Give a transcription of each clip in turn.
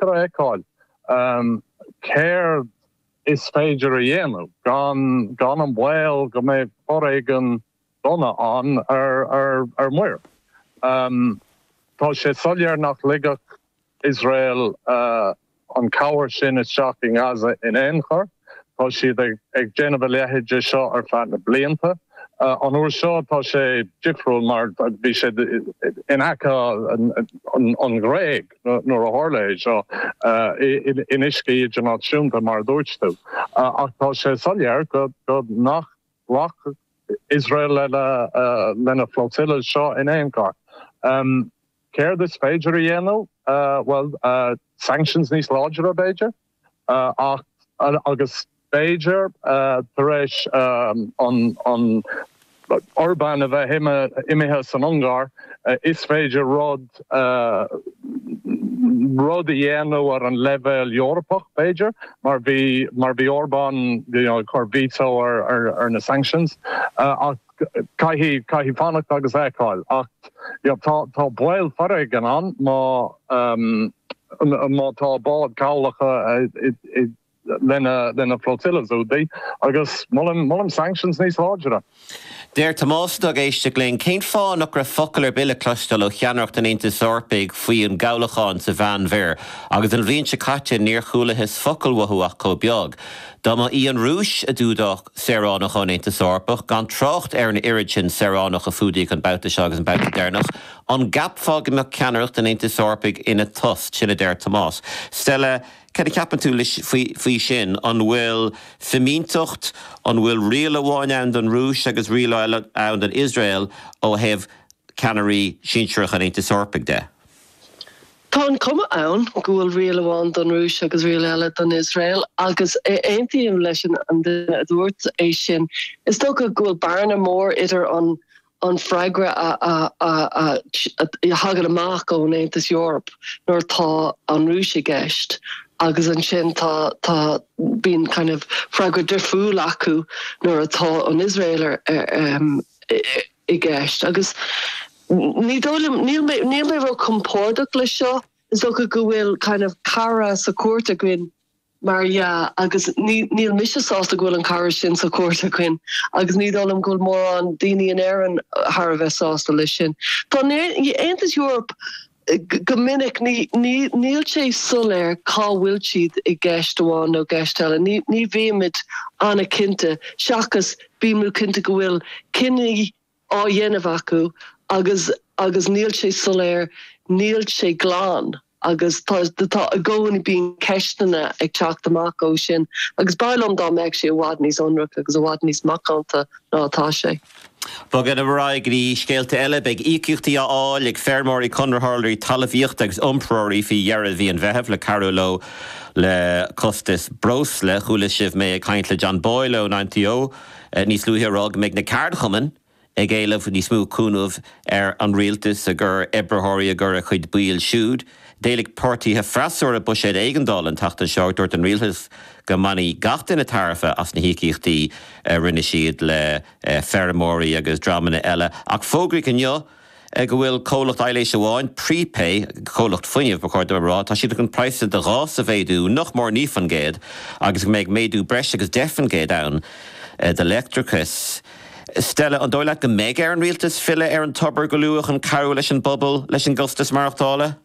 deacair a fheiceáil céard is féidir a dhéanamh gan gan an baol go mbeidh foréigean dona ann ar muir. Tá sé soiléir nach ligfeadh Iosrael an chabhair sin isteach i nGaza in aon chor. Tá siad ag déanamh a leithéid de seo ar feadh na blianta. An uair seo tá sé difriúil mar bhí sé in aice an Ghréig nuair a tharla é seo, in uiscí idirnáisiúnta mar a dúirt tú. Ach tá sé soiléir go nach nglacfadh Iosrael lena flotilla seo in aon chor. Céard is féidir a dhéanamh? Bhuel, sanctions níos láidre, b'fhéidir, ach, agus b'fhéidir, tar éis an Orbán a bheith imithe san Ungáir, is féidir rud, rud a dhéanamh ar an leibhéal Eorpach, b'fhéidir, mar bhí, mar bhí Orbán, you know, ag cur veto ar, ar na sanctions, ach caithfidh, caithfidh fanacht agus fheiceáil. Ach tá, tá baol foréigin ann má, má tá báid cabhlacha i, lena, lena flotillas údaí agus molaim, molaim sanctions níos láidre. Deir Tomás atá ag éisteacht linn, Cén fáth nach raibh focal ar bith le cloisteáil ó cheannaireacht an Aontais Eorpaigh faoi an gcabhlachán sa Mheánmhuir agus an bhliain seo caite níor chualathas focal uathu ach chomh beag. Dá mba í an Rúis a d'fhuadódh saoránach ón Aontas Eorpach, gan trácht ar an oiread sin saoránach a fuadaíodh an babhta seo agus an babhta deireanach, an gceapfá go mbeadh ceannaireacht an Aontais Eorpaigh ina tost? Sin a deir Tomás. Stella, Cad a cheapann tú faoi sin? An bhfuil fimínteacht, an bhfuil riail amháin ann don Rúis agus riail eile ann don Iosrael ó thaobh ceannairí sinsearacha an Aontais Eorpaigh de? Tá an chuma ann go bhfuil riail amháin don Rúis agus riail eile don Iosrael agus aontaím leis an duine a dúirt é sin. Is dócha go bhfuil bearna mór idir an an freagra a thagann amach ón Aontas Eorpach nuair atá an Rúis i gceist agus ansin tá tá bíonn kind of freagra difriúil acu nuair atá an Iosrael i gceist agus ní dóigh liom níl mé níl mé ró-compordach leis seo is dócha go bhfuil kind of cara sa chúirt againn Mar dhea, agus níl mise sásta go bhfuil an cara sin sa chúirt againn agus ní dóigh liom go bhfuil mórán daoine in Éirinn thar a bheith sásta leis sin. Tá an Aontas Eorpach go minic, níl sé soiléir cá bhfuil siad i gceist amháin nó gceist eile. Ní bhímid an-chinnte, seachas bímid cinnte go bhfuil cinní á dhéanamh acu agus agus níl sé soiléir, níl sé glan agus tá tá i gcónaí bíonn ceisteanna ag teacht amach ó sin agus b'fhearr liom dá mbeadh sé i bhfad níos ionraice agus i bhfad níos macánta ná atá sé. Bogadh ar aghaidh go dtí scéalta eile. Beidh íocaíochtaí á fháil ag feirmeoirí, conraitheoirí talmhaíochta agus iompróirí faoi dheireadh mhí an Mheithimh le cabhrú leo le costas breosla. Chuala sibh mé ag caint le John Boyle ón INTO níos luaithe ag rá go mbeidh na ceardchumainn ag éileamh níos mó cúnamh ar an rialtas i gcomhair oibritheoirí i gcomhair a chuid baill siúd. D'éiligh páirtithe freasúra buiséad éigeandála an tseachtain seo ach dúirt an rialtas go mbainfidh gach duine tairbhe as na híocaíochtaí a rinne siad le feirmeoirí agus dreamanna eile. Ach fógraíodh inniu go bhfuil comhlacht aibhléise amháin, Prepay, comhlacht fuinnimh ba chóir dom a rá, tá siad chun praghsanna do ghás a mhéadú nach mór 9% agus go mbeidh méadú breis agus 10% ann do leictreachas. Stella, an dóigh leat go mbeidh ar an rialtas filleadh ar an tobar go luath chun cabhrú leis an bpobal leis an gcostas maireachtála?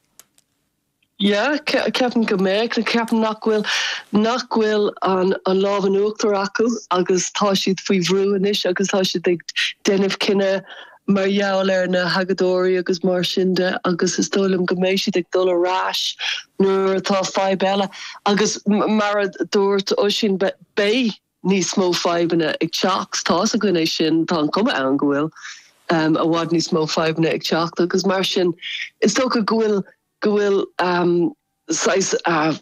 Yeah, ceapaim go mbeadh. Ceapaim nach bhfuil, nach bhfuil an an lámh in uachtar acu agus tá siad faoi bhrú anois agus tá siad ag déanamh cinneadh mar gheall ar na hagóideoirí agus mar sin de agus is dóigh liom go mbeidh siad ag dul ar ais nuair atá fadhb eile agus mar a dúirt Oisín beidh níos mó fadhbanna ag teacht. Tá's againn é sin, tá an chuma ann go bhfuil i bhfad níos mó fadhbanna ag teacht agus mar sin is dócha go bhfuil go bhfuil saghas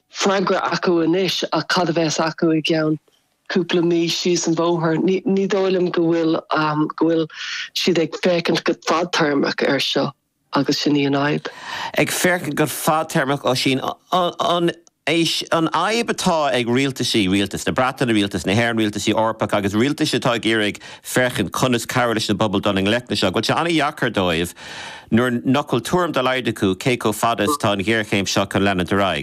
freagra acu anois ach cad a bheas acu i gceann cúpla mí síos an bhóthar. Ní ní dóigh liom go bhfuil go bhfuil siad ag féachaint go fadtéarmach air seo. agus sin í an fhadhb. Ag féachaint go fadtéarmach, Oisín, an é an fhadhb atá ag rialtaisí, rialtas na Breataine, rialtas na hÉireann, rialtaisí Eorpacha agus rialtais atá ag iarraidh féachaint conas cabhrú leis an bpobal dul i ngleic leis seo, go bhfuil sé an-dheacair dóibh nuair nach bhfuil tuairim dá laghad acu cé chomh fada is atá an ghéarchéim seo chun leanúint ar aghaidh.